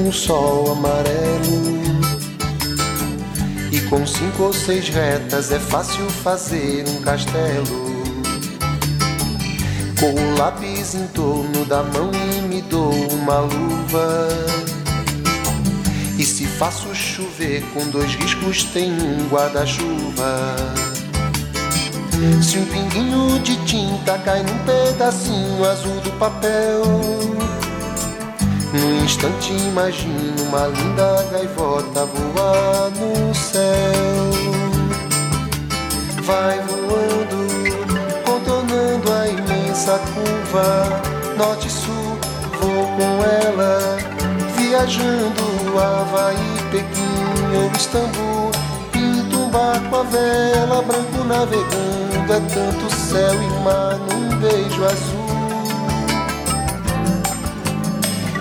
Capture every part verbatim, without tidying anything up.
um sol amarelo. E com cinco ou seis retas é fácil fazer um castelo. Com o lápis em torno da mão e me dou uma luva. E se faço chover com dois riscos tem um guarda-chuva. Se um pinguinho de tinta cai num pedacinho azul do papel, num instante imagino uma linda gaivota voar no céu. Vai voando, contornando a imensa curva, norte e sul, vou com ela, viajando Havaí, Pequim ou Istambul. Pinto um barco à vela, branco navegando, é tanto céu e mar num beijo azul.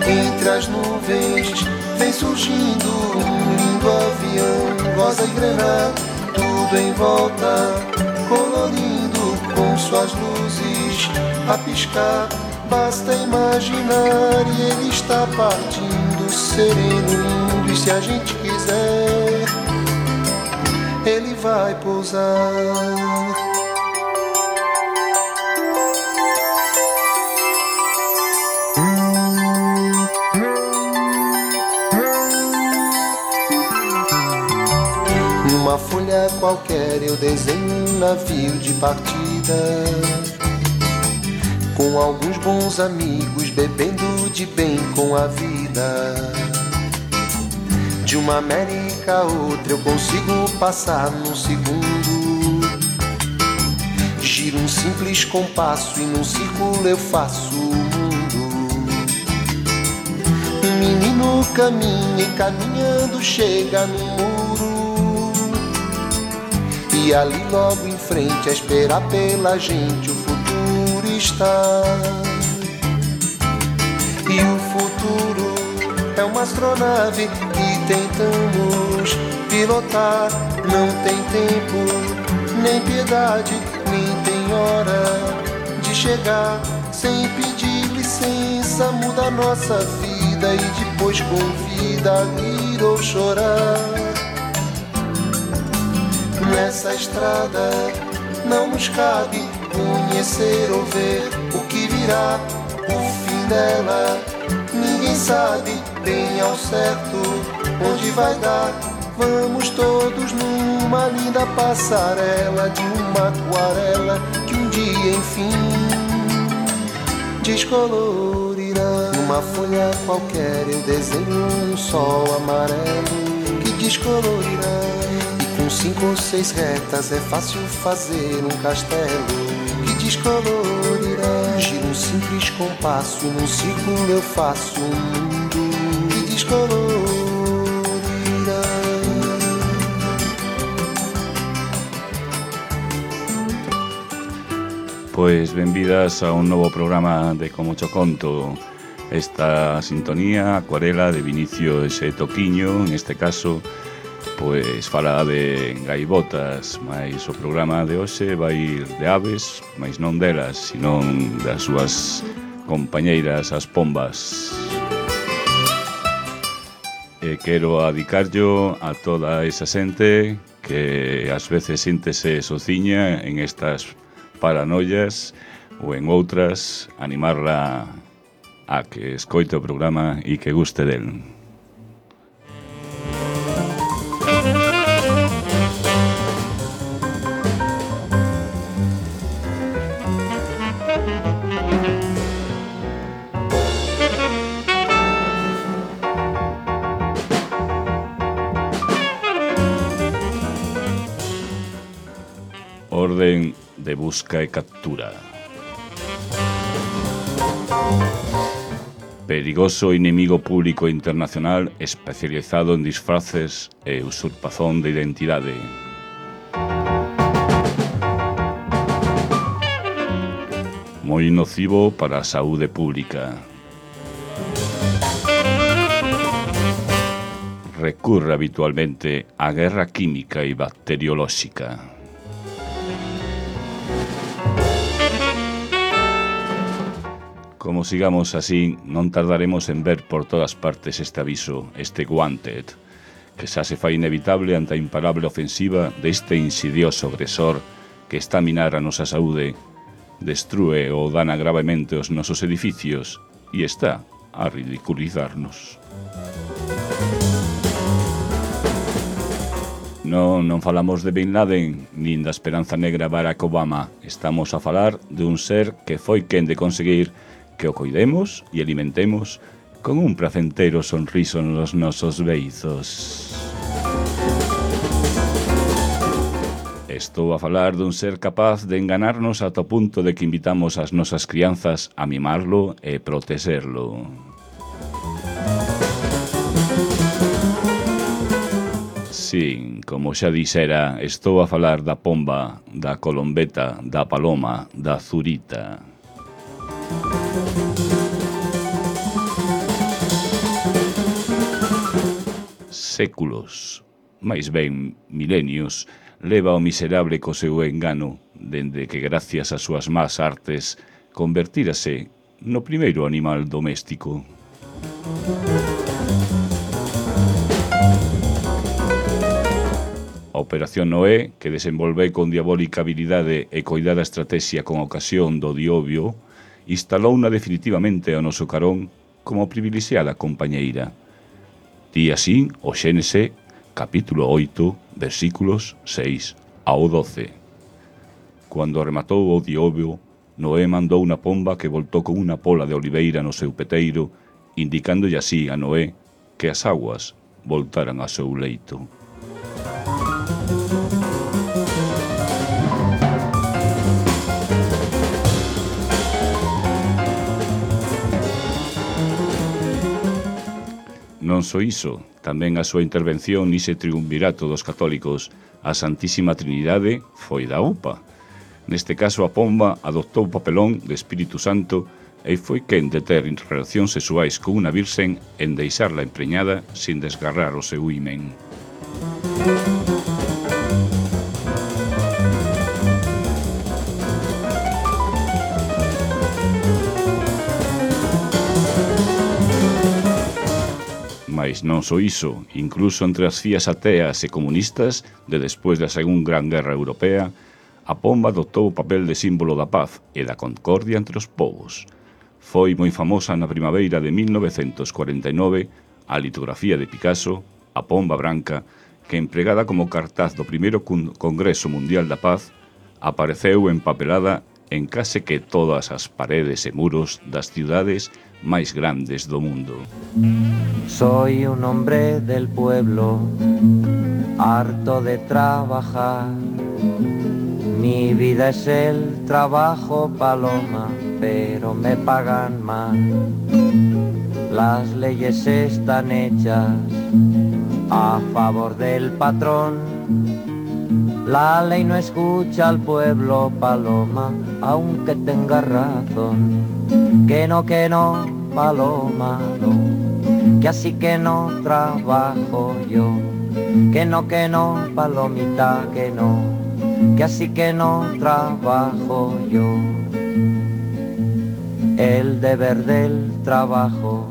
Entre as nuvens vem surgindo um lindo avião, rosa e grená, tudo em volta, colorindo com suas luzes a piscar. Basta imaginar e ele está partindo, sereno, lindo, e se a gente quiser, ele vai pousar. Numa folha qualquer eu desenho um navio de partida, com alguns bons amigos bebendo de bem com a vida. De uma América a outra eu consigo passar num segundo. Giro um simples compasso e num círculo eu faço o mundo. Um menino caminha e caminhando chega no muro, e ali logo em frente a esperar pela gente o futuro está. E o futuro é uma astronave que tentamos pilotar. Não tem tempo, nem piedade, nem tem hora de chegar. Sem pedir licença muda a nossa vida e depois convida a rir ou chorar. Nessa estrada não nos cabe conhecer ou ver o que virá, o fim dela. Ninguém sabe bem ao certo onde vai dar. Vamos todos numa linda passarela de uma aquarela que um dia enfim descolorirá. Numa folha qualquer eu desenho um sol amarelo que descolorirá. Com cinco ou seis retas é fácil fazer um castelo que descolorirá. Giro um simples compasso e num círculo eu faço um mundo que descolorirá. Pois benvidas a un novo programa de Como Cho Conto. Esta sintonía, Acuarela, de Vinicio ese Toquiño, en este caso, pois fala de gaivotas, mas o programa de hoxe vai ir de aves, mas non delas, senón das súas compañeiras, as pombas. E quero adicarllo a toda esa xente que ás veces síntese sociña en estas paranoias ou en outras, animarla a que escoite o programa e que guste del. Orden de busca e captura. Perigoso inimigo público internacional especializado en disfraces e usurpación de identidade. Moi nocivo para a saúde pública. Recurre habitualmente á guerra química e bacteriolóxica. Como sigamos así, non tardaremos en ver por todas partes este aviso, este wanted, que xa se fai inevitable ante a imparable ofensiva deste insidioso agresor que está a minar a nosa saúde, destrúe ou dana gravemente os nosos edificios e está a ridiculizarnos. Non, non falamos de Bin Laden, nin da esperanza negra Barack Obama. Estamos a falar de un ser que foi quen de conseguir que o coidemos e alimentemos con un placentero sonriso nos nosos beizos. Estou a falar dun ser capaz de enganarnos ata o punto de que invitamos as nosas crianzas a mimarlo e protexerlo. Sí, como xa dixera, estou a falar da pomba, da colombeta, da paloma, da zurita. Séculos, máis ben milenios, leva o miserable co seu engano, dende que gracias ás súas más artes convertírase no primeiro animal doméstico. A Operación Noé, que desenvolveu con diabólica habilidade e coidada estrategia con ocasión do diobio, instalouna definitivamente ao noso carón como privilexiada compañeira. Di así o Xénese, capítulo oito, versículos seis ao doce. Cando rematou o diobio, Noé mandou unha pomba que voltou con unha pola de oliveira no seu peteiro, indicándolle así a Noé que as aguas voltaran ao seu leito. Non só iso, tamén a súa intervención nese triunvirato dos católicos, a Santísima Trinidade, foi da U P A. Neste caso, a pomba adoptou o papelón de Espírito Santo e foi quen de ter relacións sexuais con unha virxen en deixarla empreñada sin desgarrar o seu himen. Mais non só iso, incluso entre as fías ateas e comunistas de despois da Segunda Gran Guerra Europea, a pomba adoptou o papel de símbolo da paz e da concordia entre os povos. Foi moi famosa na primavera de mil novecentos cuarenta e nove a litografía de Picasso, a pomba branca, que empregada como cartaz do primeiro Congreso Mundial da Paz, apareceu empapelada en case que todas as paredes e muros das ciudades máis grandes do mundo. Soy un hombre del pueblo, harto de trabajar. Mi vida es el trabajo, paloma, pero me pagan mal. Las leyes están hechas a favor del patrón. La ley no escucha al pueblo, paloma, aunque tenga razón. Que no, que no, paloma, no, que así que no trabajo yo. Que no, que no, palomita, que no, que así que no trabajo yo. El deber del trabajo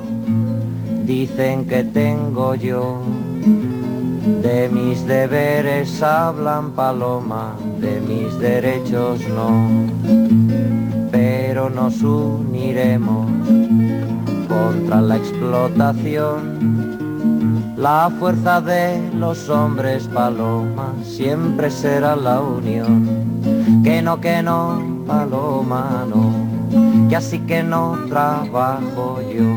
dicen que tengo yo. De mis deberes hablan, paloma, de mis derechos no. Pero nos uniremos contra la explotación. La fuerza de los hombres, paloma, siempre será la unión. Que no, que no, paloma, no, que así que no trabajo yo.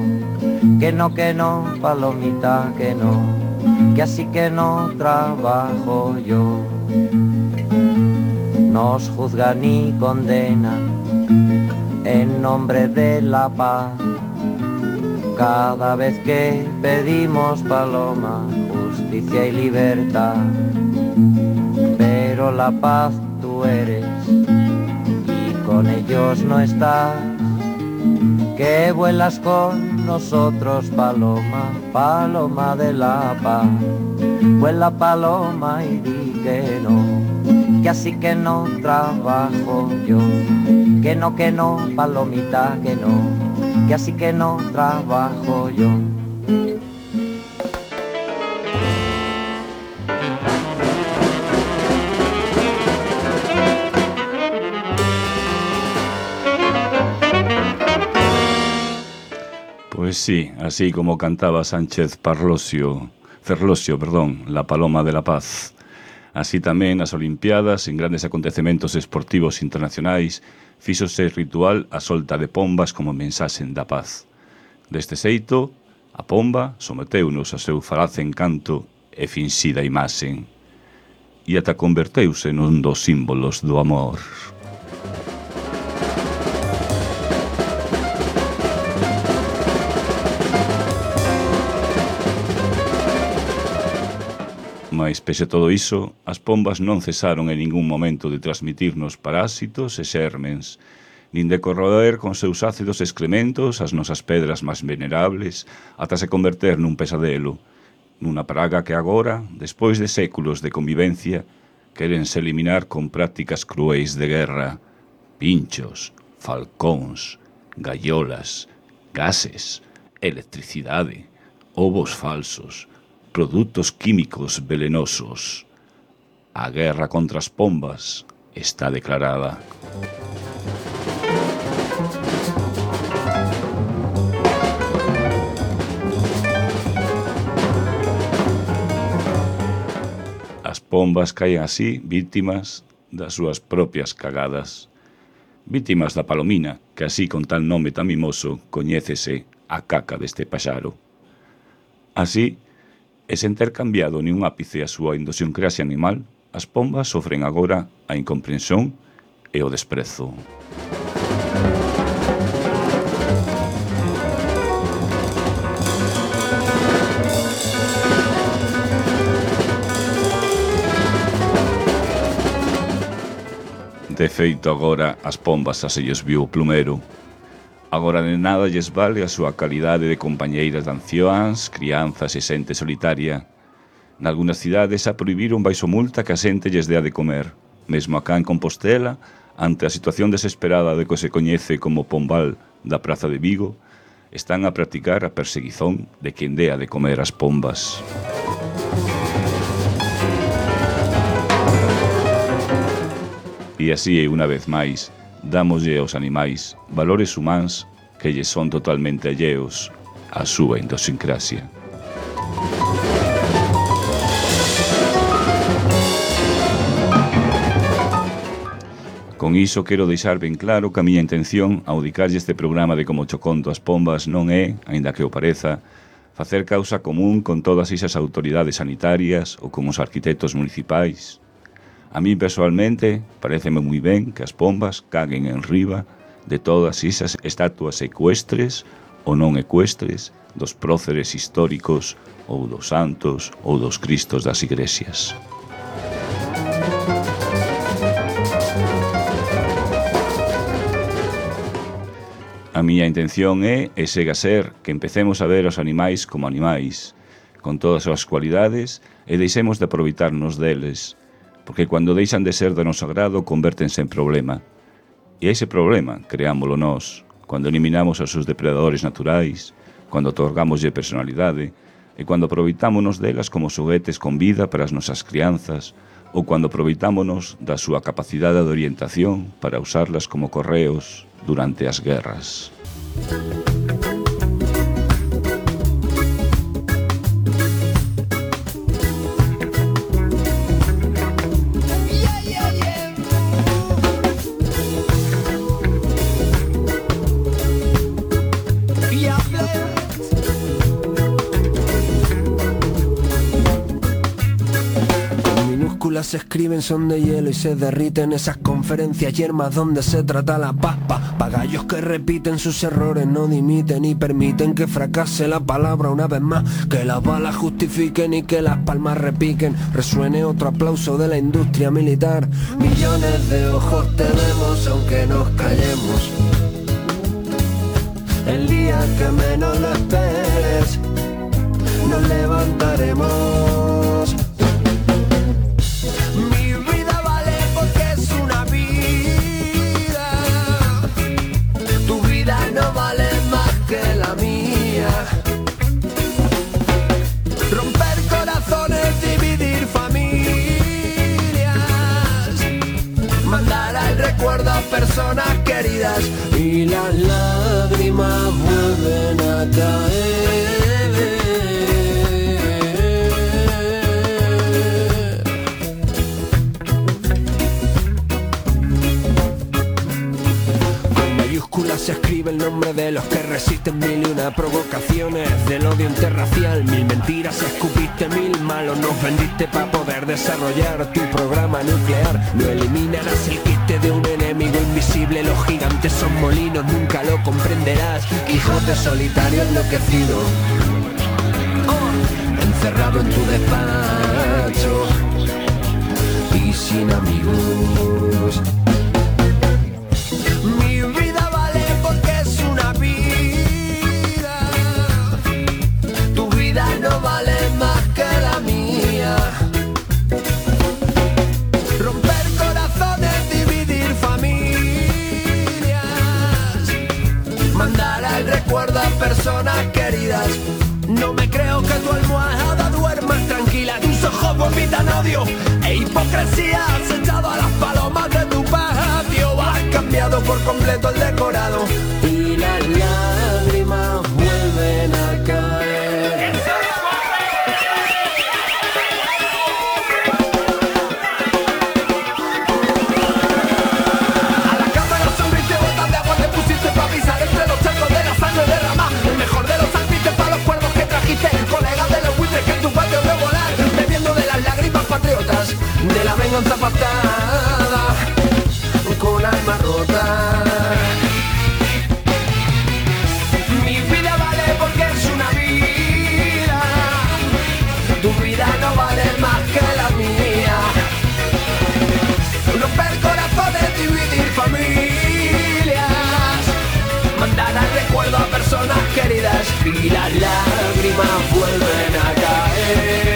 Que no, que no, palomita, que no, que así que no trabajo yo. Nos juzgan y condenan en nombre de la paz. Cada vez que pedimos, paloma, justicia y libertad. Pero la paz tú eres y con ellos no estás. Que vuelas con nosotros, paloma, paloma de la paz. Vuela, paloma, y di que no, que así que no trabajo yo. Que no, que no, palomita, que no, que así que no trabajo yo. Pues sí, así como cantaba Sánchez Parlosio, Ferlosio, perdón, La Paloma de la Paz. Así tamén nas Olimpiadas, en grandes acontecementos esportivos internacionais, fíxose ritual a solta de pombas como mensaxe da paz. Deste xeito, a pomba someteunos ao seu falaz encanto e finxida imaxen, e ata converteuse nun dos símbolos do amor. Mais, pese a todo iso, as pombas non cesaron en ningún momento de transmitirnos parásitos e xermens, nin de corroer con seus ácidos excrementos as nosas pedras máis venerables ata se converter nun pesadelo, nunha praga que agora, despois de séculos de convivencia, quérense eliminar con prácticas cruéis de guerra, pinchos, falcóns, gaiolas, gases, electricidade, ovos falsos, produtos químicos velenosos. A guerra contra as pombas está declarada. As pombas caen así vítimas das súas propias cagadas. Vítimas da palomina, que así con tal nome tan mimoso coñécese a caca deste paxaro. Así, e sen ter cambiado ni un ápice a súa idiosincrasia animal, as pombas sofren agora a incomprensión e o desprezo. De feito, agora as pombas xa se lles viu o plumero. Agora de nada lles vale a súa calidade de compañeiras de ancións, crianzas e xente solitaria. Nalgúnas cidades a prohibiron baixo multa que a xente lles dea de comer. Mesmo acá en Compostela, ante a situación desesperada de que se coñece como pombal da Praza de Vigo, están a practicar a perseguizón de quen dea de comer as pombas. E así, unha vez máis, dámoslle aos animais valores humáns que lles son totalmente alleos á súa idiosincrasia. Con iso quero deixar ben claro que a miña intención ao dedicarlle este programa de Como cho conto as pombas non é, aínda que o pareza, facer causa común con todas esas autoridades sanitarias ou con os arquitectos municipais. A mí, personalmente, paréceme moi ben que as pombas caguen en riba de todas esas estatuas ecuestres ou non ecuestres dos próceres históricos ou dos santos ou dos cristos das igrexas. A miña intención é e segue a ser que empecemos a ver os animais como animais, con todas as súas cualidades, e deixemos de aproveitarnos deles, porque cando deixan de ser do noso agrado convértense en problema. E ese problema creámoslo nós, cando eliminamos os seus depredadores naturais, cando otorgámoslle personalidade, e cando aproveitámonos delas como xoguetes con vida para as nosas crianzas, ou cando aproveitámonos da súa capacidade de orientación para usarlas como correos durante as guerras. Se escriben, son de hielo y se derriten esas conferencias yermas donde se trata la papa. Pagallos que repiten sus errores, no dimiten y permiten que fracase la palabra una vez más. Que las balas justifiquen y que las palmas repiquen. Resuene otro aplauso de la industria militar. Millones de ojos te vemos aunque nos callemos. El día que menos lo esperes, nos levantaremos. No vale más queridas y las lágrimas vuelven a caer. Se escribe el nombre de los que resisten mil y una provocaciones del odio interracial. Mil mentiras escupiste, mil malos nos vendiste para poder desarrollar tu programa nuclear. No eliminarás el quiste de un enemigo invisible. Los gigantes son molinos, nunca lo comprenderás. Quijote solitario enloquecido, oh, encerrado en tu despacho y sin amigos. No vale más que la mía. Romper corazones, dividir familias, mandar al recuerdo a personas queridas. No me creo que tu almohada duerma tranquila. Tus ojos vomitan odio e hipocresía. Has echado a las palomas de tu patio. Has cambiado por completo el decorado y las lágrimas vuelven a caer. De la venganza pactada con alma rota. Mi vida vale porque es una vida. Tu vida no vale más que la mía. Romper corazones, dividir familias, mandar al recuerdo a personas queridas y las lágrimas vuelven a caer.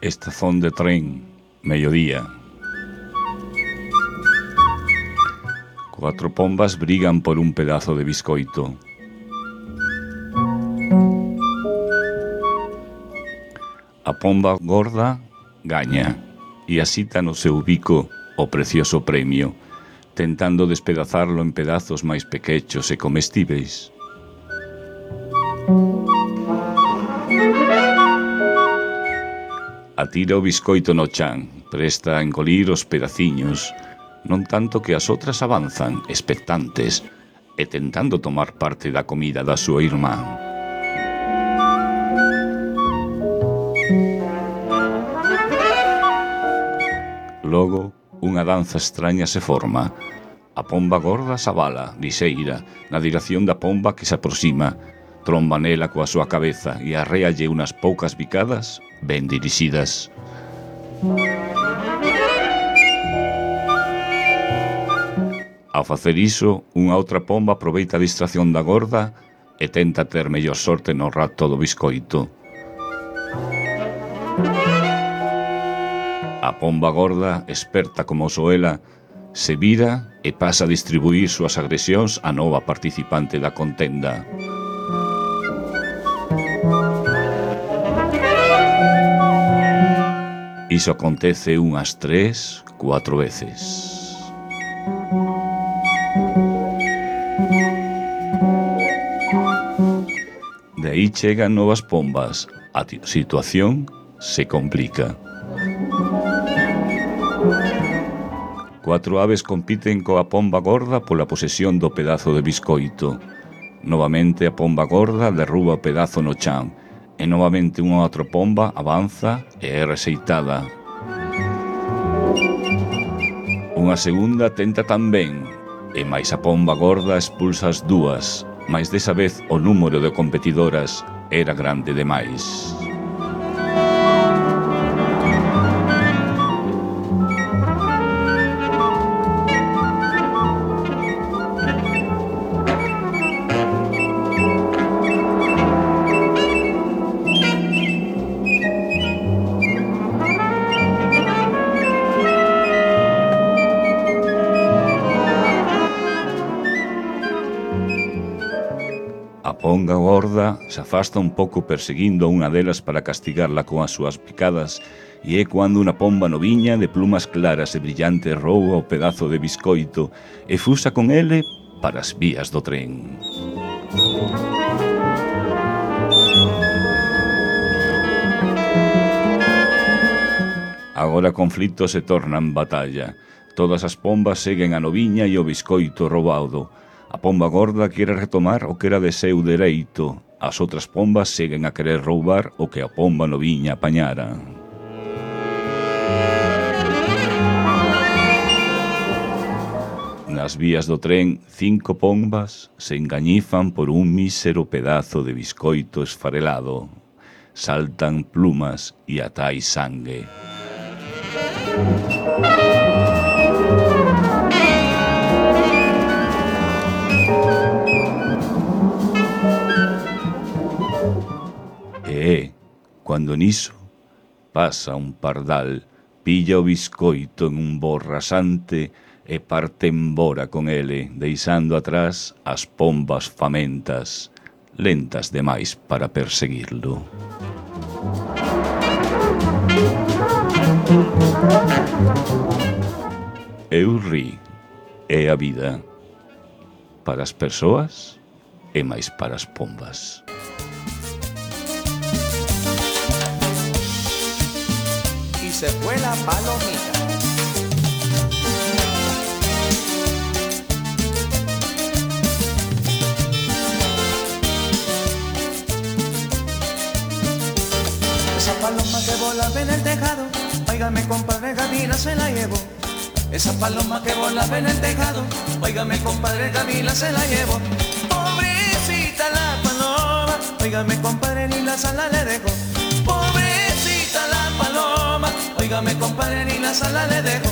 Estación de tren, mediodía. Cuatro pombas brigan por un pedazo de biscoito. A pomba gorda gaña e asita no seu bico o precioso premio, tentando despedazarlo en pedazos máis pequechos e comestíveis. Atira o biscoito no chan, presta a engolir os pedaciños, non tanto que as outras avanzan, expectantes, e tentando tomar parte da comida da súa irmá. Logo, unha danza extraña se forma. A pomba gorda sabala, lixeira, na dirección da pomba que se aproxima, tromba nela coa súa cabeza e arréalle unas poucas bicadas ben dirixidas. Ao facer iso, unha outra pomba aproveita a distracción da gorda e tenta ter mellor sorte no rato do biscoito. A pomba gorda, experta como soela, se vira e pasa a distribuir súas agresións á nova participante da contenda. Iso acontece unhas tres, cuatro veces. De aí chegan novas pombas. A situación se complica. Cuatro aves compiten coa pomba gorda pola posesión do pedazo de biscoito. Novamente a pomba gorda derruba o pedazo no chan e novamente unha outra pomba avanza e é rexeitada. Unha segunda tenta tamén, e máis a pomba gorda expulsa as dúas, mais desa vez o número de competidoras era grande demais. A ponga gorda se afasta un pouco perseguindo a unha delas para castigarla con as súas picadas, e é cando unha pomba noviña de plumas claras e brillantes rouba o pedazo de biscoito e fusa con ele para as vías do tren. Agora o conflito se torna en batalla. Todas as pombas seguen a noviña e o biscoito roubado. A pomba gorda quere retomar o que era de seu dereito. As outras pombas seguen a querer roubar o que a pomba noviña apañara. Nas vías do tren, cinco pombas se engañifan por un mísero pedazo de biscoito esfarelado. Saltan plumas e ata hai sangue. E, cando niso, pasa un pardal, pilla o biscoito en un bo rasante e parte embora con ele, deixando atrás as pombas famentas, lentas demais para perseguirlo. Eu ri, é a vida, para as persoas e máis para as pombas. Se fue la palomita. Esa paloma que volaba en el tejado, óigame compadre, Gavila se la llevó. Esa paloma que volaba en el tejado, óigame compadre, Gavila se la llevó. Pobrecita la paloma, óigame compadre, ni la sala le dejó. Pobrecita la paloma, óigame compadre, ni la sala le dejo.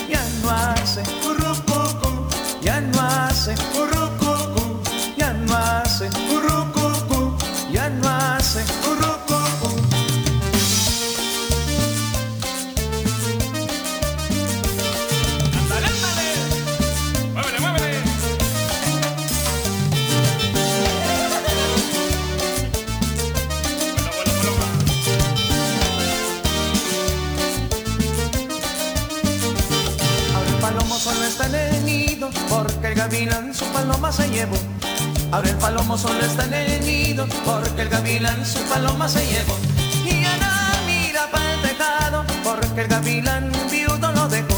Ya no hace currucucu, ya no hace currucucu, ya no hace currucucu, ya no hace currucucu. Ándale, ándale, muévele, muévele. Solo está en el nido, porque el gavilán su paloma se llevó. Ahora el palomo solo está en el nido, porque el gavilán su paloma se llevó. Y ya no mira pa'l tejado, porque el gavilán viudo lo dejó.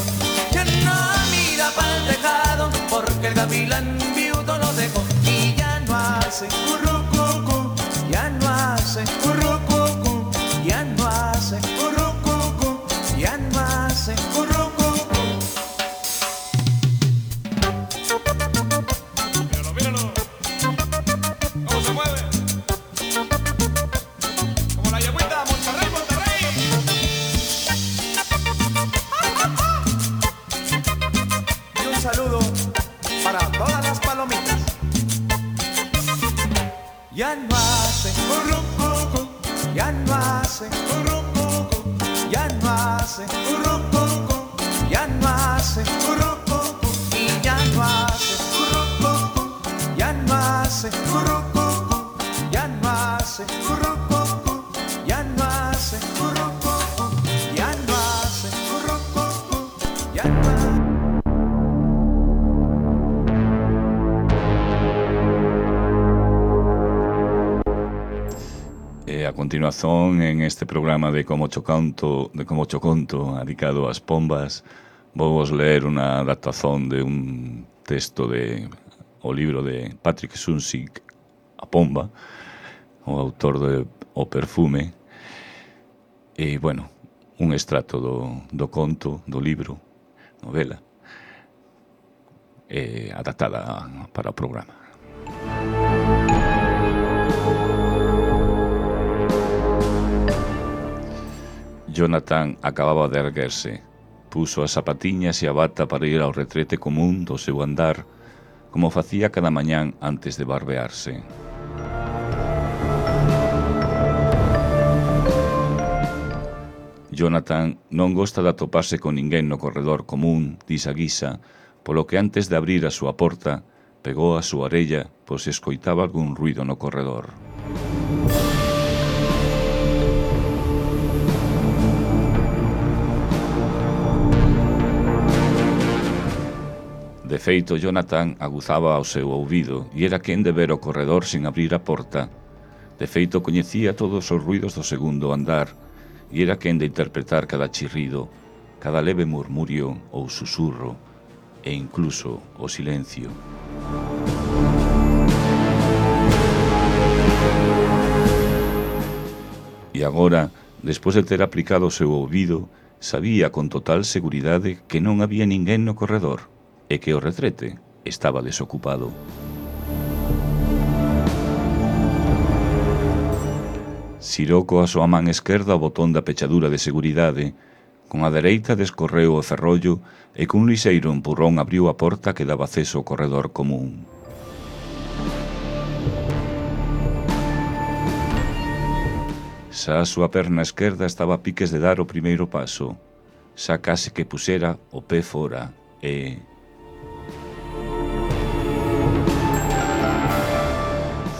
Ya no mira pa'l tejado, porque el gavilán viudo lo dejó. Y ya no hace currucucu, ya no hace currucucu, ya no hace currucucu, ya no hace currucucu. Ya no hace currucucu, ya no hace currucucu, ya no hace currucucu, ya no hace currucucu, y ya no hace currucucu, ya no hace currucucu, ya no hace currucucu, ya no hace currucucu, ya no hace currucucu, ya no hace. A continuación, en este programa de Como Cho Canto, de Como Cho Conto, dedicado ás pombas, vou vos ler unha adaptación de un texto de o libro de Patrick Suncic, A Pomba, o autor do O Perfume, e, bueno, un extracto do, do conto, do libro, novela, eh, adaptada para o programa. Jonathan acababa de erguerse, puso as zapatiñas e a bata para ir ao retrete común do seu andar, como facía cada mañán antes de barbearse. Jonathan non gosta de atoparse con ninguén no corredor común, disa guisa, polo que antes de abrir a súa porta, pegou a súa orella por se escoitaba algún ruido no corredor. De feito, Jonathan aguzaba ao seu ouvido e era quen de ver o corredor sin abrir a porta. De feito, coñecía todos os ruidos do segundo andar e era quen de interpretar cada chirrido, cada leve murmurio ou susurro e incluso o silencio. E agora, despois de ter aplicado o seu ouvido, sabía con total seguridade que non había ninguén no corredor e que o retrete estaba desocupado. Xirou coa súa man esquerda o botón da pechadura de seguridade, con a dereita descorreu o ferrollo e cun lixeiro empurrón abriu a porta que daba acceso ao corredor común. Xa a súa perna esquerda estaba a piques de dar o primeiro paso, xa case que pusera o pé fora e...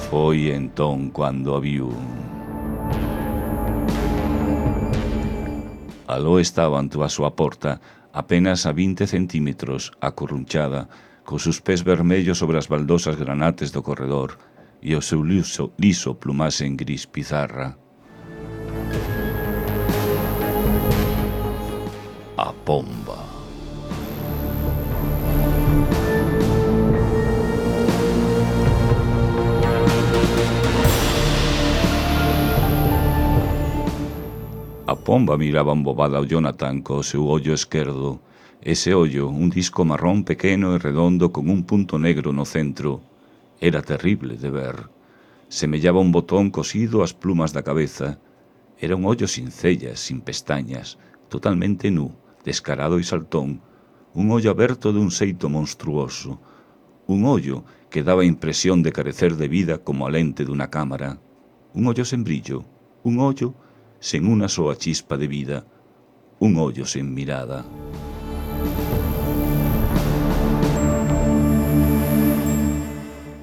Foi entón cando a viu. Aló estaba ante a súa porta, apenas a vinte centímetros, acurrunchada, cos seus pés vermellos sobre as baldosas granates do corredor e o seu liso, liso plumase en gris pizarra. A pomba. A pomba miraba embobada ao Jonathan co seu ollo esquerdo. Ese ollo, un disco marrón pequeno e redondo con un punto negro no centro, era terrible de ver. Semellaba un botón cosido ás plumas da cabeza. Era un ollo sin cellas, sin pestañas, totalmente nu, descarado e saltón, un ollo aberto dun xeito monstruoso, un ollo que daba impresión de carecer de vida como a lente dunha cámara, un ollo sen brillo, un ollo sen unha soa chispa de vida, un ollo sen mirada.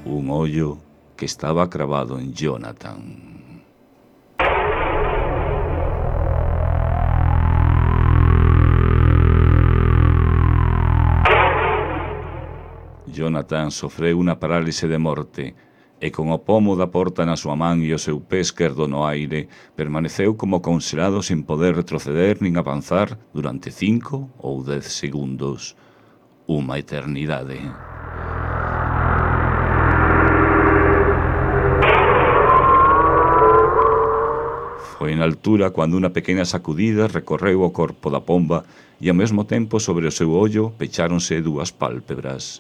Un ollo que estaba cravado en Jonathan. Jonathan sofreu unha parálise de morte e con o pomo da porta na súa man e o seu pé esquerdo no aire, permaneceu como conxelado sin poder retroceder nin avanzar durante cinco ou dez segundos. Unha eternidade. Foi na altura cando unha pequena sacudida recorreu o corpo da pomba e ao mesmo tempo sobre o seu ollo pecháronse dúas pálpebras.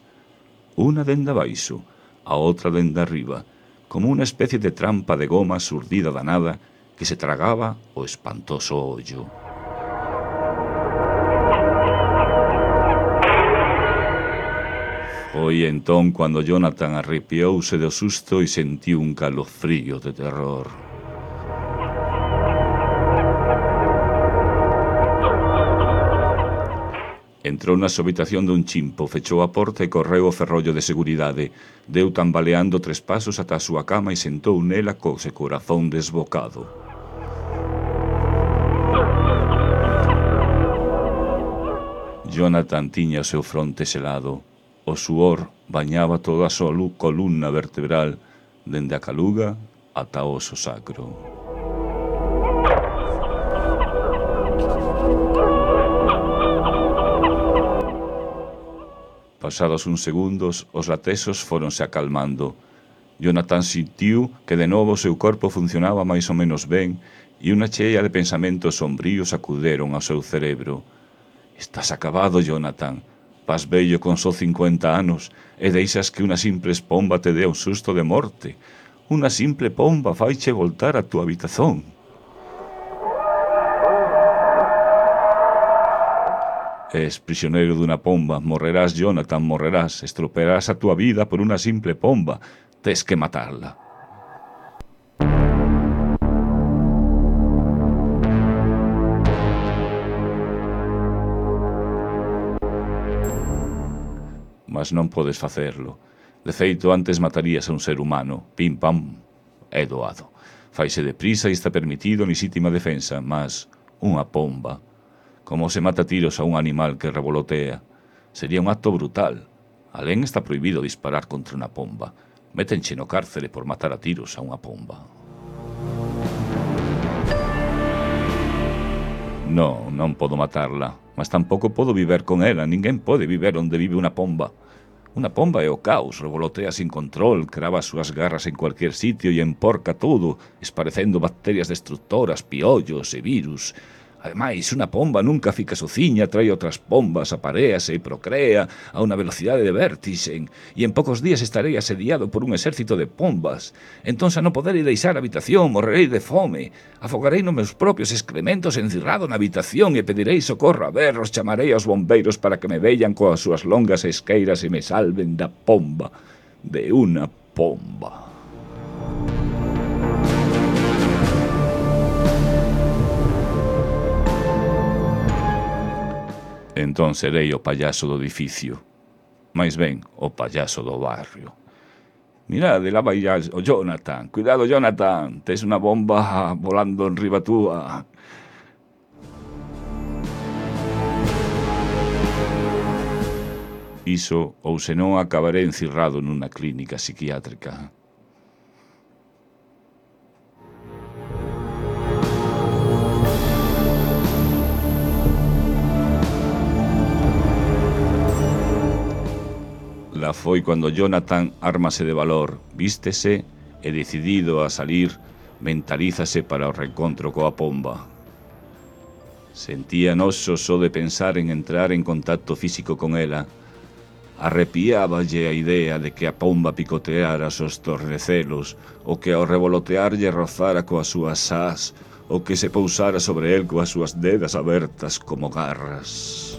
Unha dende abaixo, a outra dende arriba, como unha especie de trampa de goma surdida da nada que se tragaba o espantoso ollo. Foi entón cando Jonathan arrepiouse do susto e sentiu un calofrío de terror. Entrou na súa habitación dun chimpo, fechou a porta e correu o ferrollo de seguridade. Deu tambaleando tres pasos ata a súa cama e sentou nela co seu corazón desbocado. Jonathan tiña o seu fronte selado. O suor bañaba toda a súa columna vertebral, dende a caluga ata o oso sacro. Pasados uns segundos, os latesos fóronse acalmando. Jonathan sentiu que de novo o seu corpo funcionaba máis ou menos ben e unha chea de pensamentos sombríos acuderon ao seu cerebro. Estás acabado, Jonathan. Vas vello con só cincuenta anos e deixas que unha simple pomba te dé un susto de morte. Unha simple pomba faiche voltar a túa habitazón. Es prisioneiro dunha pomba. Morrerás, Jonathan, morrerás. Estropearás a túa vida por unha simple pomba. Tes que matarla. Mas non podes facerlo. De feito, antes matarías a un ser humano. Pim, pam, é doado. Faise deprisa e está permitido en lexítima defensa, mas unha pomba, como se mata tiros a un animal que revolotea, sería un acto brutal. Alén está prohibido disparar contra unha pomba. Métenche no cárcere por matar a tiros a unha pomba. Non, non podo matarla, mas tampouco podo viver con ela. Ninguén pode viver onde vive unha pomba. Unha pomba é o caos, revolotea sin control, crava as súas garras en cualquier sitio e emporca todo, esparecendo bacterias destructoras, piollos e virus. Ademais, unha pomba nunca fica sociña, trae outras pombas, aparease e procrea a unha velocidade de vértixe, e en poucos días estarei asediado por un exército de pombas. Entón, xa non poderei deixar a habitación, morrerei de fome, afogarei nos meus propios excrementos encerrado na habitación e pedirei socorro a berros, chamarei aos bombeiros para que me vean coas súas longas esqueiras e me salven da pomba, de unha pomba. Entón serei o payaso do edificio. Mais ben, o payaso do barrio. Mirade, lá vai o Jonathan. Cuidado, Jonathan. Tes unha bomba volando en riba túa. Iso, ou senón acabaré encerrado nunha clínica psiquiátrica. La foi cando Jonathan ármase de valor, vístese e decidido a salir, mentalízase para o reencontro coa pomba. Sentía noso só de pensar en entrar en contacto físico con ela. Arrepiáballe a idea de que a pomba picoteara os tornecelos, ou que ao revolotearlle rozara coas súas ás, ou que se pousara sobre el coas súas dedas abertas como garras.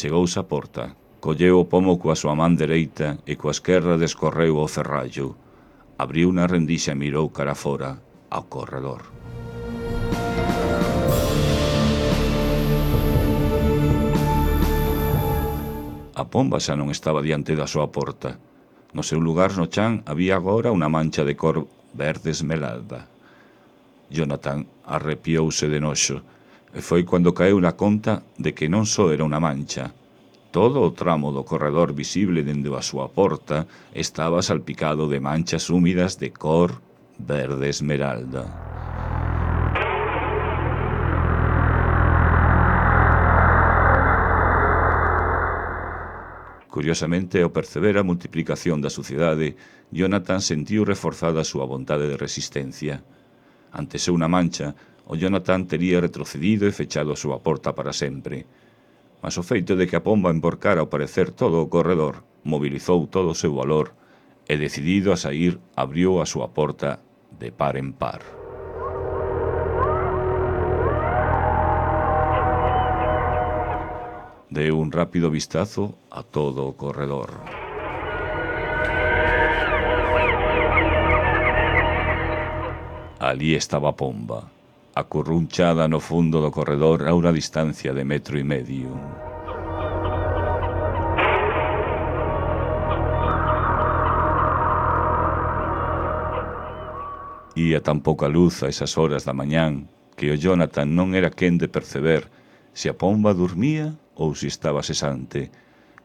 Chegouse a porta, colleu o pomo coa súa man dereita e coa esquerra descorreu o ferrallo. Abriu unha rendixa e mirou cara fora ao corredor. A pomba xa non estaba diante da súa porta. No seu lugar no chan había agora unha mancha de cor verde esmeralda. Jonathan arrepiouse de noxo. E foi cando caeu na conta de que non só era unha mancha. Todo o tramo do corredor visible dende a súa porta estaba salpicado de manchas húmidas de cor verde esmeralda. Curiosamente, ao perceber a multiplicación da suciedade, Jonathan sentiu reforzada a súa vontade de resistencia. Ante ser unha mancha, o Jonathan tería retrocedido e fechado a súa porta para sempre. Mas o feito de que a pomba emborcara ao parecer todo o corredor mobilizou todo o seu valor e, decidido a sair, abriu a súa porta de par en par. Deu un rápido vistazo a todo o corredor. Alí estaba a pomba, acurrunchada no fundo do corredor a unha distancia de metro e medio. Ía tan pouca luz a esas horas da mañán que o Jonathan non era quen de perceber se a pomba dormía ou se estaba cesante,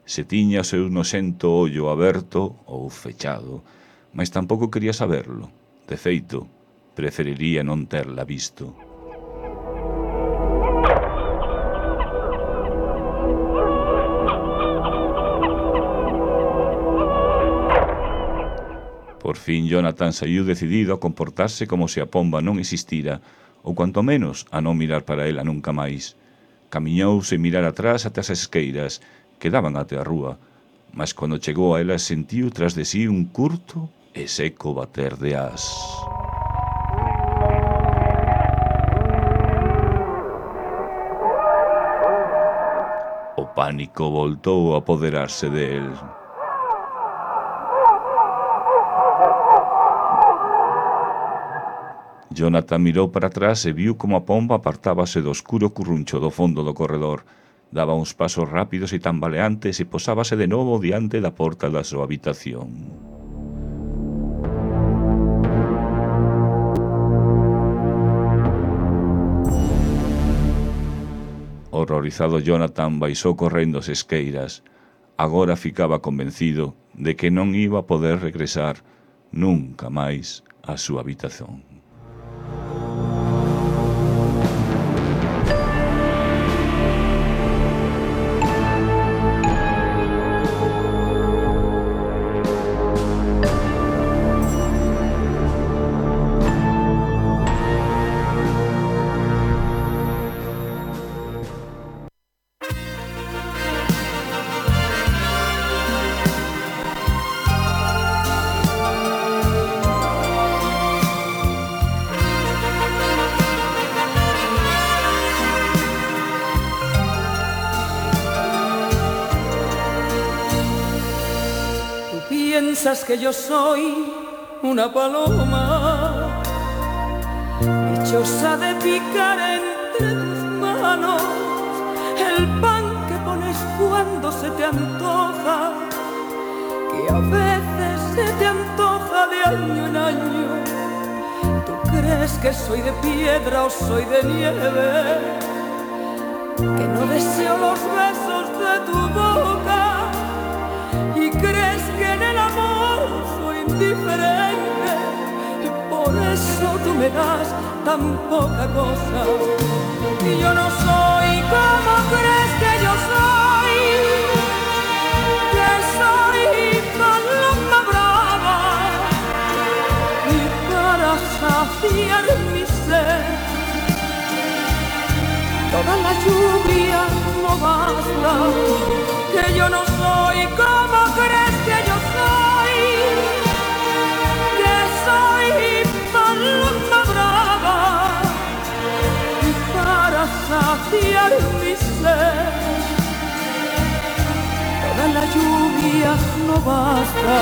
se tiña o seu noxento ollo aberto ou fechado, mas tampouco quería saberlo. De feito, preferiría non terla visto. Por fin Jonathan saiu decidido a comportarse como se a pomba non existira, ou cuanto menos a non mirar para ela nunca máis. Camiñou sen mirar atrás até as esqueiras, que daban até a rúa, mas cando chegou a ela sentiu tras de sí un curto e seco bater de as. O pánico voltou a apoderarse del. Jonathan mirou para atrás e viu como a pomba apartábase do escuro curruncho do fondo do corredor. Daba uns pasos rápidos e tambaleantes e posábase de novo diante da porta da súa habitación. Horrorizado, Jonathan baixou correndo as esqueiras. Agora ficaba convencido de que non iba a poder regresar nunca máis á súa habitación. Piensas que yo soy una paloma, dichosa de picar entre tus manos el pan que pones cuando se te antoja, que a veces se te antoja de año en año. ¿Tú crees que soy de piedra o soy de nieve? Que no deseo los besos de tu boca y crees que en el amor soy indiferente, y por eso tú me das tan poca cosa. Y yo no soy como crees que yo soy, que soy paloma brava, y para saciar mi sed toda la lluvia no basta. Que yo no soy como crees que yo soy, que soy paloma brava, y para saciar mi sed toda la lluvia no basta.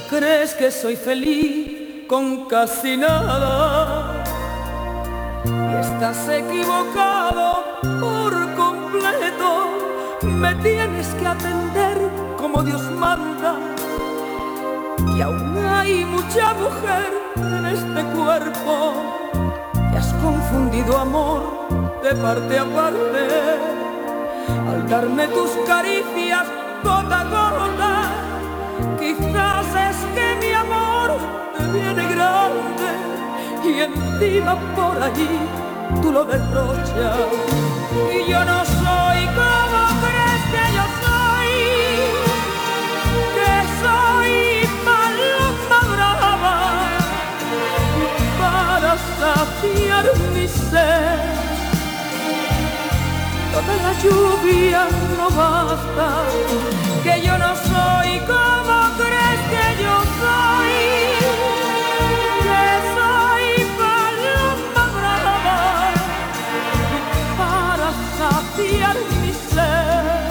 ¿Crees que soy feliz con casi nada? Y estás equivocado por completo. Me tienes que atender como Dios manda, y aún hay mucha mujer en este cuerpo. Te has confundido amor de parte a parte al darme tus caricias gota a gota. Quizás es que mi amor te viene grande y encima por allí tú lo derrochas. Y yo no soy como crees que yo soy, que soy paloma brava, para saciar mi sed toda la lluvia no basta. Que yo no soy como crees que yo soy, que soy paloma brava, para saciar mi sed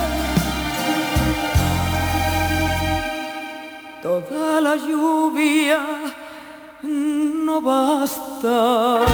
toda la lluvia no basta.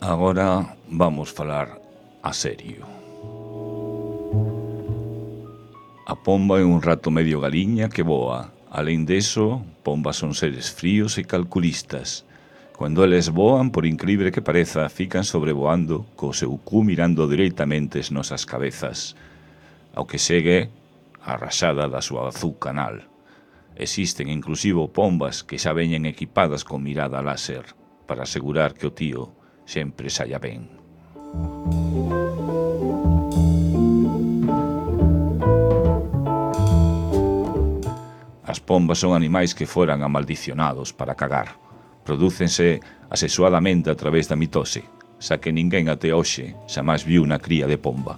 Agora vamos falar a serio. A pomba é un rato medio galiña que voa. Alén deso, pombas son seres fríos e calculistas. Cando eles voan, por incrível que pareza, fican sobrevoando co seu cu mirando directamente as nosas cabezas, ao que segue a rachada da súa azul canal. Existen inclusivo pombas que xa veñen equipadas con mirada láser para asegurar que o tío sempre saia ben. As pombas son animais que foran amaldicionados para cagar. Prodúcense asexuadamente a través da mitose, xa que ninguén até hoxe xamás viu unha cría de pomba.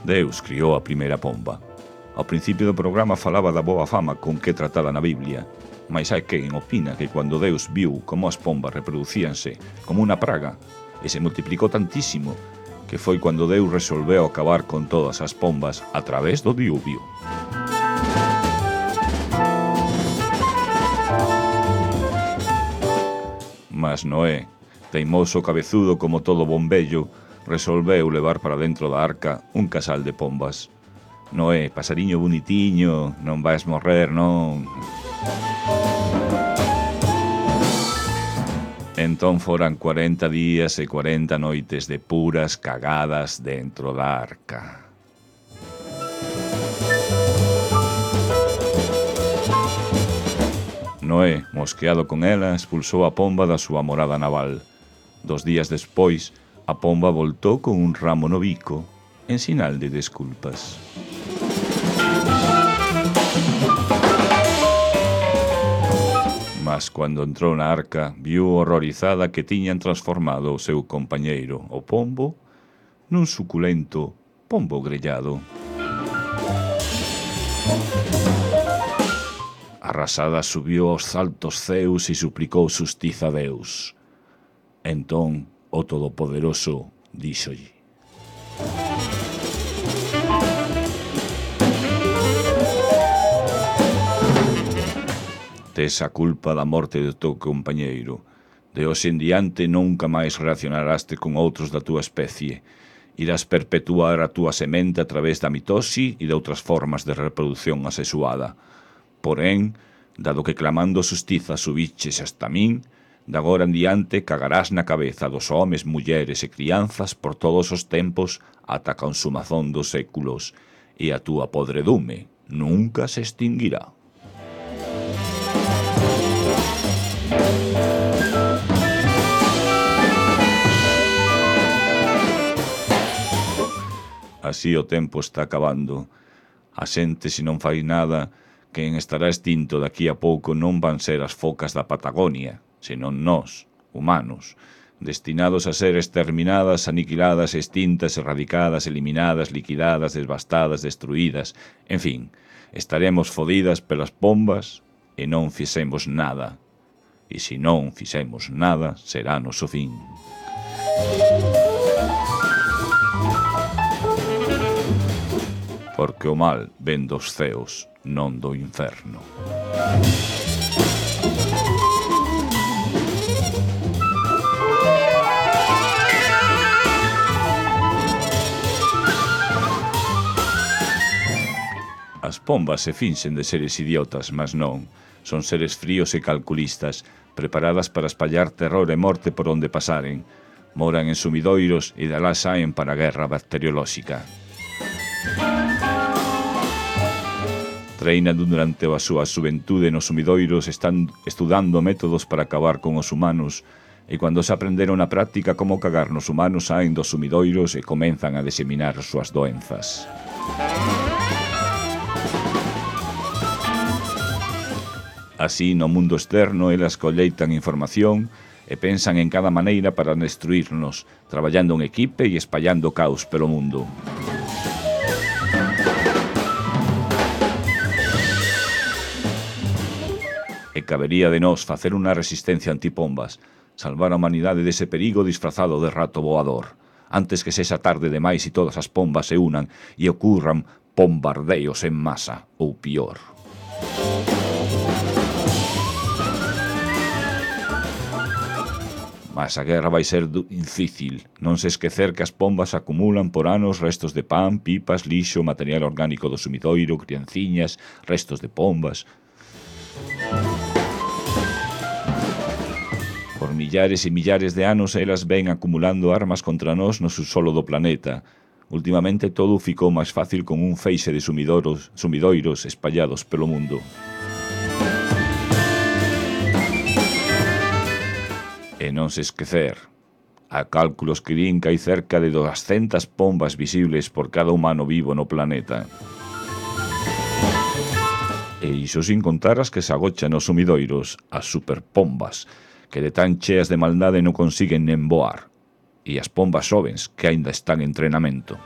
Deus criou a primeira pomba. Ao principio do programa falaba da boa fama con que tratada na Biblia, mas hai quen opina que cando Deus viu como as pombas reproducíanse como unha praga e se multiplicou tantísimo que foi cando Deus resolveu acabar con todas as pombas a través do diluvio. Mas Noé, teimoso cabezudo como todo bon vello, resolveu levar para dentro da arca un casal de pombas. Noé, pasariño bonitiño, non vais morrer, non... Entón foran cuarenta días e cuarenta noites de puras cagadas dentro da arca. Noé, mosqueado con ela, expulsou a pomba da súa morada naval. Dos días despois, a pomba voltou con un ramo no bico, en sinal de desculpas. Mas cando entrou na arca, viu horrorizada que tiñan transformado o seu compañeiro, o pombo, nun suculento pombo grellado. Arrasada subiu aos altos ceus e suplicou xustiza a Deus. Entón, o Todopoderoso díxolle: tes a culpa da morte do teu compañeiro. De hoxe en diante nunca máis relacionaraste con outros da túa especie. Irás perpetuar a túa semente a través da mitose e de outras formas de reproducción asexuada. Porén, dado que clamando xustiza subiches hasta min, de agora en diante cagarás na cabeza dos homes, mulleres e crianzas por todos os tempos ata a consumazón dos séculos, e a túa podredume nunca se extinguirá. Así o tempo está acabando. A xente, se non fai nada, quen estará extinto daqui a pouco non van ser as focas da Patagonia, senón nós, humanos, destinados a ser exterminadas, aniquiladas, extintas, erradicadas, eliminadas, liquidadas, devastadas, destruídas, en fin, estaremos fodidas pelas pombas e non fixemos nada. E se non fixemos nada, será noso fin. Porque o mal ven dos ceos, non do inferno. As pombas se finxen de seres idiotas, mas non. Son seres fríos e calculistas, preparadas para espallar terror e morte por onde pasaren. Moran en sumidoiros e dalá saen para a guerra bacteriolóxica. Treinan durante a súa xuventude nos sumidoiros, están estudando métodos para acabar con os humanos, e cando se aprenderon na práctica como cagar nos humanos, saen dos sumidoiros e comenzan a diseminar as súas doenzas. Así, no mundo externo, elas colleitan información e pensan en cada maneira para destruirnos, traballando en equipe e espallando caos pelo mundo. E cabería de nós facer unha resistencia antipombas, salvar a humanidade dese perigo disfrazado de rato voador, antes que sexa tarde demais e todas as pombas se unan e ocurran bombardeos en masa, ou pior. Mas a guerra vai ser difícil. Non se esquecer que as pombas acumulan por anos restos de pan, pipas, lixo, material orgánico do sumidoiro, crianciñas, restos de pombas. Por millares e millares de anos elas ven acumulando armas contra nós no subsolo do planeta. Últimamente todo ficou máis fácil con un feixe de sumidoros, sumidoiros espallados pelo mundo. E non se esquecer, a cálculos que din que hai cerca de doscientas pombas visibles por cada humano vivo no planeta. E iso sin contar as que se agochan nos sumidoiros, as superpombas, que de tan cheas de maldade non consiguen nen voar, e as pombas xovens que aínda están en entrenamento.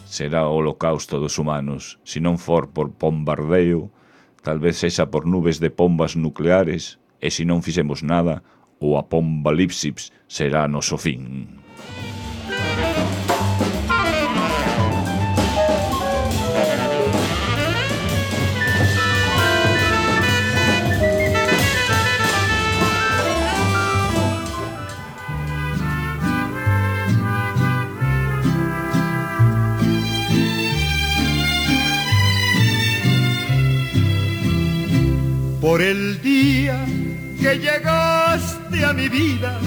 Será o holocausto dos humanos, se non for por bombardeo, tal vez sexa por nubes de pombas nucleares, e se non fixemos nada, o apocalipsis será noso fin. Por el día que llegaste a mi vida,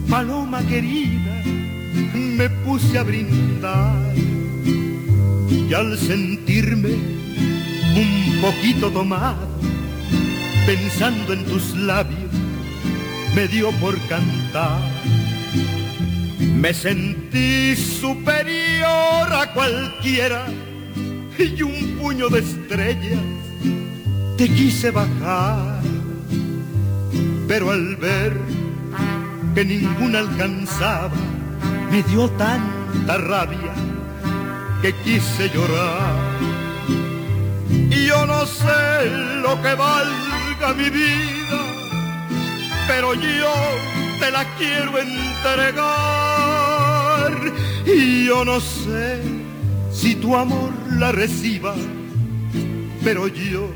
paloma querida, me puse a brindar. Y al sentirme un poquito tomado, pensando en tus labios, me dio por cantar. Me sentí superior a cualquiera y un puño de estrellas te quise bajar, pero al ver que ninguna alcanzaba, me dio tanta rabia que quise llorar. Y yo no sé lo que valga mi vida, pero yo te la quiero entregar. Y yo no sé si tu amor la reciba, pero yo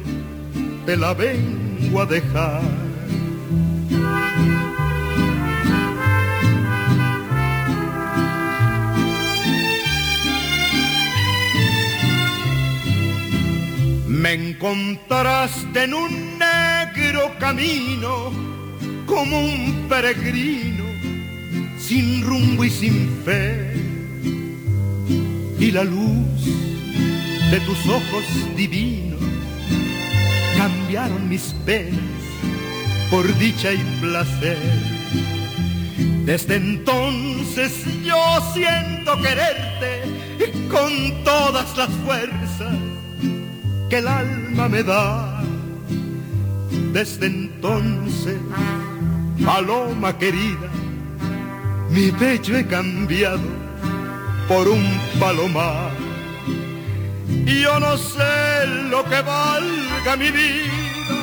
te la vengo a dejar. Me encontraste en un negro camino, como un peregrino, sin rumbo y sin fe. Y la luz de tus ojos divinos cambiaron mis penas por dicha y placer. Desde entonces yo siento quererte con todas las fuerzas que el alma me da. Desde entonces, paloma querida, mi pecho he cambiado por un palomar. Y yo no sé lo que valga mi vida,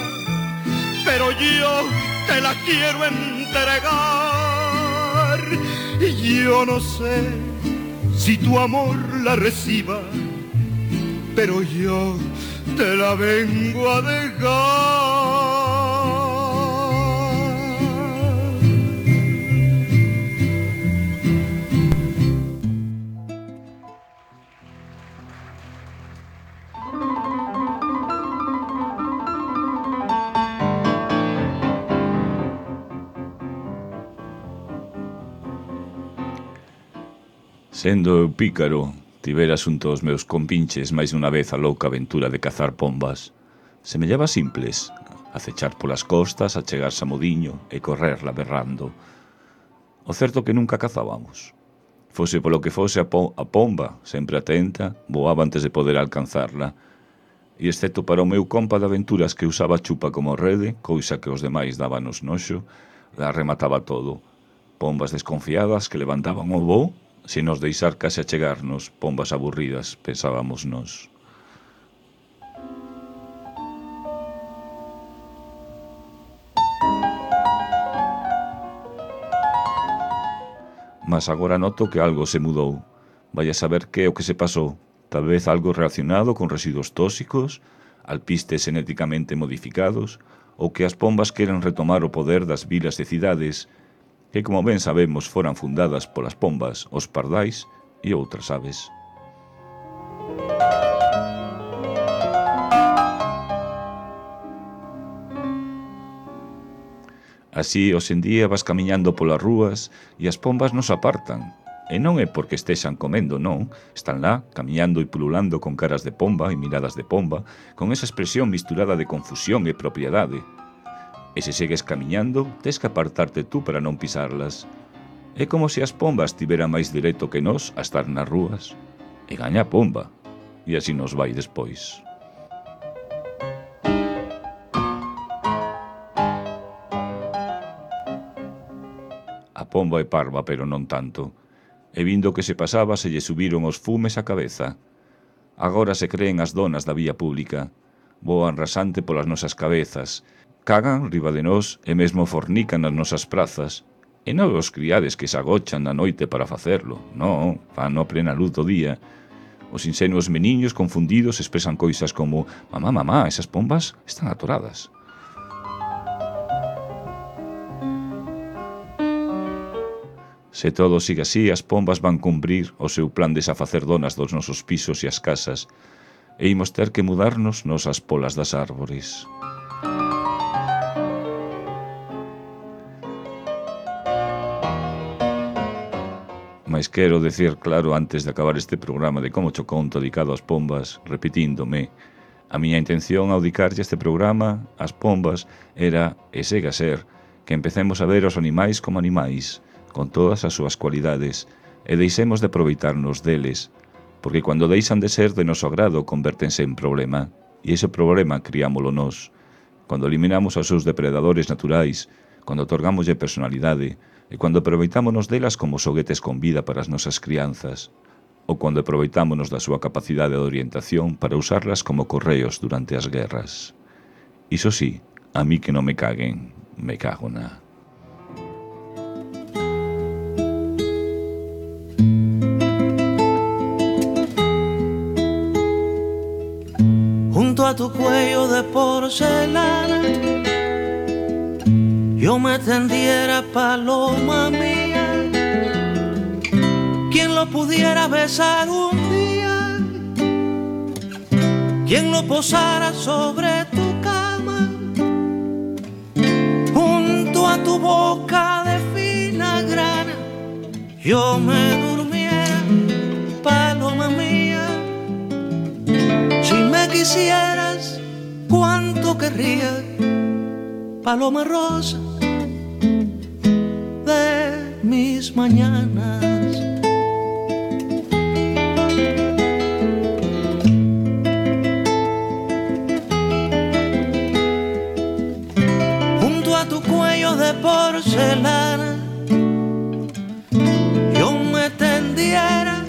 pero yo te la quiero entregar. Y yo no sé si tu amor la reciba, pero yo te la vengo a dejar. Sendo eu pícaro, tivera xunto aos meus compinches máis dunha vez a louca aventura de cazar pombas. Semellaba simples, acechar polas costas, achegarse a modiño e correrla berrando. O certo que nunca cazábamos. Fose polo que fose a, po a pomba, sempre atenta, voaba antes de poder alcanzarla. E excepto para o meu compa de aventuras que usaba chupa como rede, cousa que os demais dábanos noxo, la remataba todo. Pombas desconfiadas que levantaban o voo, se nos deixar case achegarnos, pombas aburridas, pensábamos nós. Mas agora noto que algo se mudou. Vai a saber que é o que se pasou. Tal vez algo relacionado con residuos tóxicos, alpistes genéticamente modificados, ou que as pombas queren retomar o poder das vilas e cidades que, como ben sabemos, foran fundadas polas pombas, os pardais e outras aves. Así, hoxendía vas camiñando polas rúas e as pombas nos apartan. E non é porque estexan comendo, non. Están lá, camiñando e pululando con caras de pomba e miradas de pomba, con esa expresión misturada de confusión e propiedade. E se segues camiñando, tes que apartarte tú para non pisarlas. É como se as pombas tiveran máis dereito que nós a estar nas rúas. E gaña a pomba. E así nos vai despois. A pomba é parva, pero non tanto. E vindo que se pasaba, se lle subiron os fumes á cabeza. Agora se creen as donas da vía pública. Voan rasante polas nosas cabezas, cagan riba de nós e mesmo fornican nas nosas prazas. E non os criades que se agochan na noite para facerlo. Non, fan a plena luz do día. Os insenuos meniños confundidos expresan cousas como «Mamá, mamá, esas pombas están atoradas». Se todo sigue así, as pombas van cumprir o seu plan de safacer donas dos nosos pisos e as casas, e imos ter que mudarnos nos as polas das árbores. Mais quero decir claro antes de acabar este programa de Como Cho Conto dedicado ás pombas, repetíndome, a miña intención ao dedicarlle este programa ás pombas era, e segue a ser, que empecemos a ver os animais como animais, con todas as súas cualidades, e deixemos de aproveitarnos deles, porque cando deixan de ser de noso agrado convértense en problema, e ese problema criámolo nós. Cando eliminamos aos seus depredadores naturais, cando otorgámoslle personalidade, e cando aproveitámonos delas como xoguetes con vida para as nosas crianzas, ou cando aproveitámonos da súa capacidade de orientación para usarlas como correos durante as guerras. Iso sí, a mí que non me caguen, me cago na... A tu cuello de porcelana yo me tendiera, paloma mía, quien lo pudiera besar un día, quien lo posara sobre tu cama, junto a tu boca de fina grana, yo me durmiera, paloma mía. Si me quisieras, cuánto querría, paloma rosa de mis mañanas. Junto a tu cuello de porcelana yo me tendiera,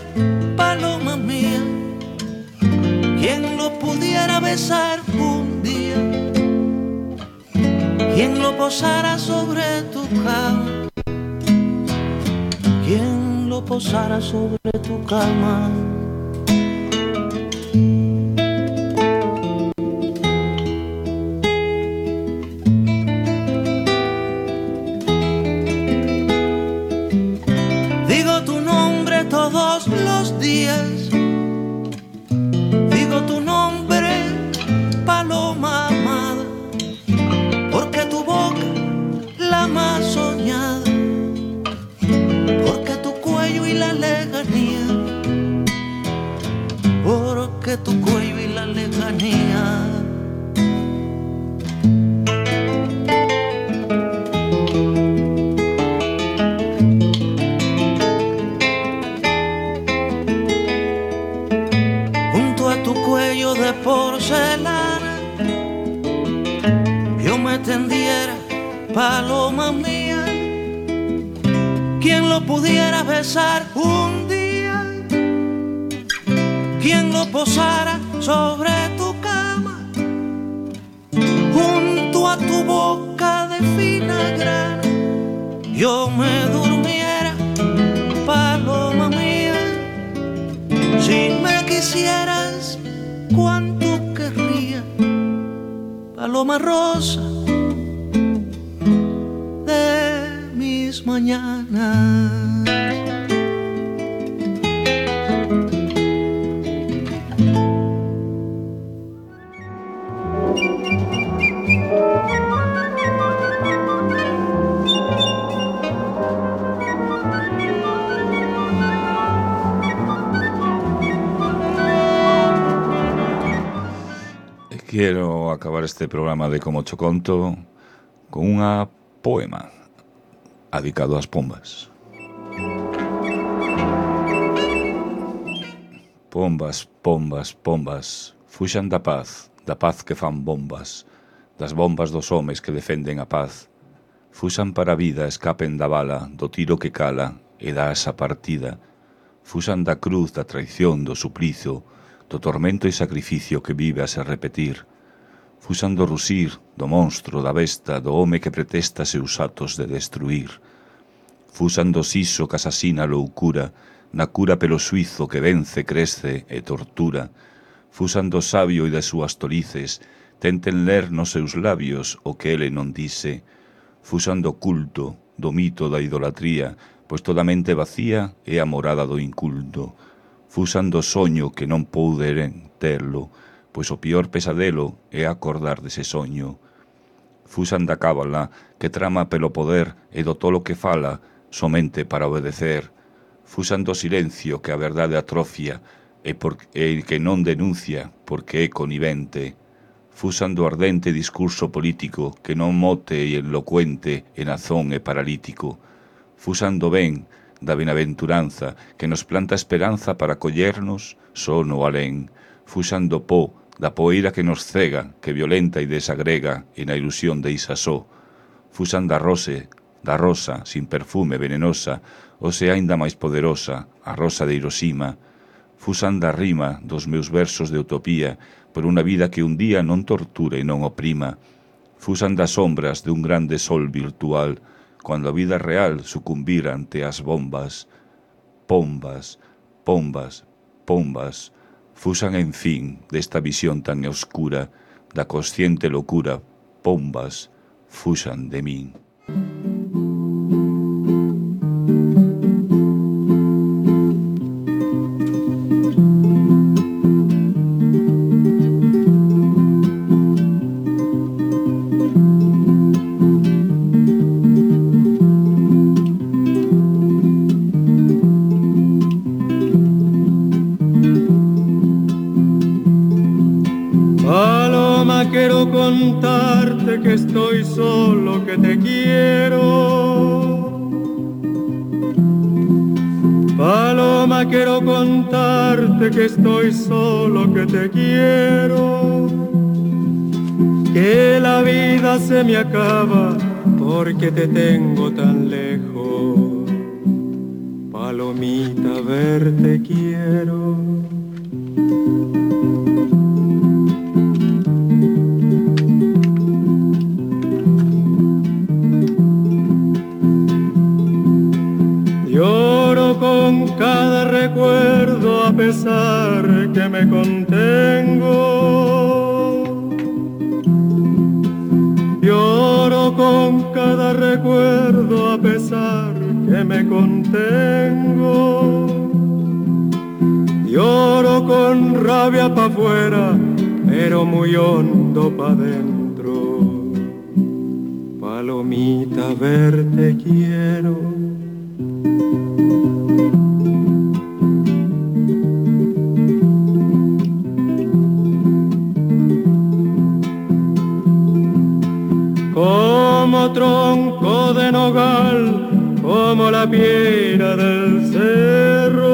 paloma mía, quien lo pudiera besar un día, quien lo posara sobre tu cama, quien lo posara sobre tu cama. Digo tu nombre todos los días, digo tu nombre, paloma amada, porque tu boca la más soñada, porque tu cuello y la lejanía, porque tu cuello y la lejanía. De porcelana yo me tendiera, paloma mía, quien lo pudiera besar un día, quien lo posara sobre tu cama, junto a tu boca de fina grana, yo me durmiera, paloma mía. Si me quisieras, cuánto querría, paloma rosa de mis mañanas. Quero acabar este programa de Como Cho Conto con unha poema dedicado ás pombas. Pombas, pombas, pombas, fuxan da paz, da paz que fan bombas, das bombas dos homes que defenden a paz. Fuxan para a vida, escapen da bala, do tiro que cala e da asa partida. Fuxan da cruz, da traición, do suplizo, do tormento e sacrificio que vive a se repetir. Fuxan do rusir, do monstro, da besta, do home que pretesta seus atos de destruir. Fuxan do siso que asasina a loucura, na cura pelo suizo que vence, crece e tortura. Fuxan do sabio e das súas tolices, tenten ler nos seus labios o que ele non dice. Fuxan do culto, do mito da idolatría, pois toda mente vacía é a morada do inculto. Fuxan do soño que non pouderen terlo, pois o pior pesadelo é acordar dese soño. Fuxan da cábala que trama pelo poder e do tolo que fala somente para obedecer. Fuxan do silencio que a verdade atrofia e, por, e que non denuncia porque é conivente. Fuxan do ardente discurso político que non mote e elocuente e nazón e paralítico. Fuxan do ben, da benaventuranza, que nos planta esperanza para collernos só no alén. Fuxan do po, da poeira que nos cega, que violenta e desagrega, e na ilusión deixa só. Fuxan da rose, da rosa, sin perfume, venenosa, ou se aínda máis poderosa, a rosa de Hiroshima. Fuxan da rima dos meus versos de utopía, por unha vida que un día non torture e non oprima. Fuxan das sombras de un grande sol virtual, cuando a vida real sucumbira ante as bombas. Pombas, pombas, pombas, fuxan en fin desta visión tan oscura, da consciente locura, pombas, fuxan de min. Quiero contarte que estoy solo, que te quiero. Paloma, quiero contarte que estoy solo, que te quiero. Que la vida se me acaba porque te tengo tan lejos. Palomita, verte quiero. Lloro con cada recuerdo a pesar que me contengo. Lloro con cada recuerdo a pesar que me contengo. Lloro con rabia pa' afuera, pero muy hondo pa' dentro. Palomita, verte quiero. Como tronco de nogal, como la piedra del cerro.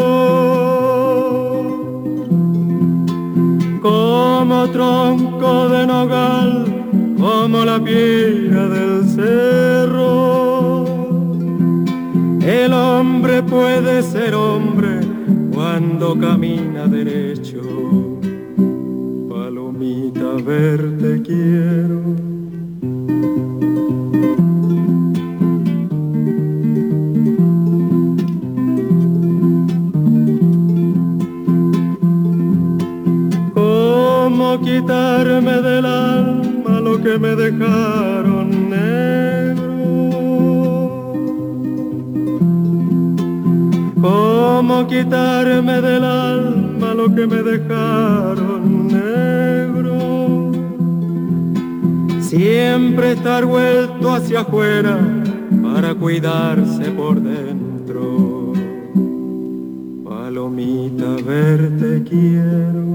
Como tronco de nogal, como la piedra del cerro. El hombre puede ser hombre cuando camina derecho. Palomita, verte quiero. ¿Cómo quitarme del alma lo que me dejaron negro? ¿Cómo quitarme del alma lo que me dejaron negro? Siempre estar vuelto hacia afuera para cuidarse por dentro. Palomita, verte quiero.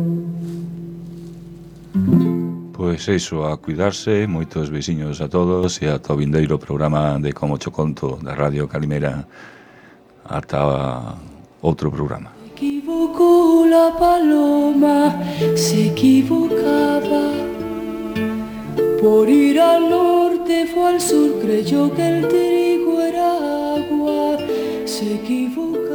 Pois iso, a cuidarse, moitos veciños a todos e ata o vindeiro programa de Como Cho Conto da Radio Calimera. Ata outro programa. Se equivocó la paloma, se equivocaba. Por ir al norte fue al sur, creyó que el trigo era agua, se equivocó.